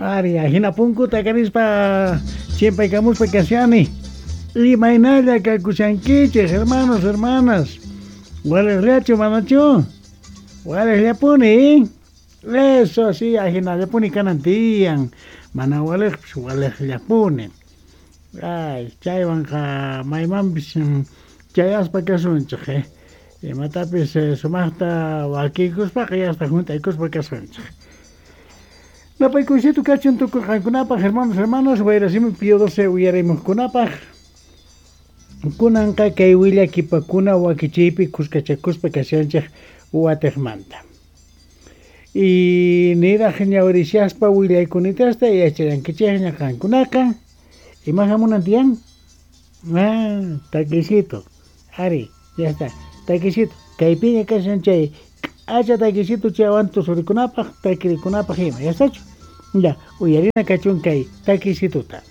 Ari, ajina punkuta karispa chimpaykamuspa kashani. Imaynalla kakushankichej, hermanos, hermanas. Walejllachu manachu? Walejllapuni, Eso sí, ajinallapuni kanan tiyan. Mana walejpis walejllapuni. Ay, chaywanqa maymanpis chayaspa kasunchej, eh. Imatapis sumajta wakiykuspaqa yasta junt'aykuspa kasunchej. Napaykuysito kachun tukuy qankunapaj, hermanos, hermanas, Wayrasimi Pío XII uyarimuqkunapaj. Kunanqa kay willakipakuna wakichiypi kuskachakuspa kashanchej watejmanta. Y niraj ñawirishaspa willaykunitasta yachallankichejña qankunaqa. Ima jamunan tiyan? Ah, takisito. Ari, ya está. Takisito. Kaypiña kashan chay k'acha takisito chaywan tusurikunapaj, takirikunapaj ima. Ya estachu? Ya, uyarina kachun kay takisituta.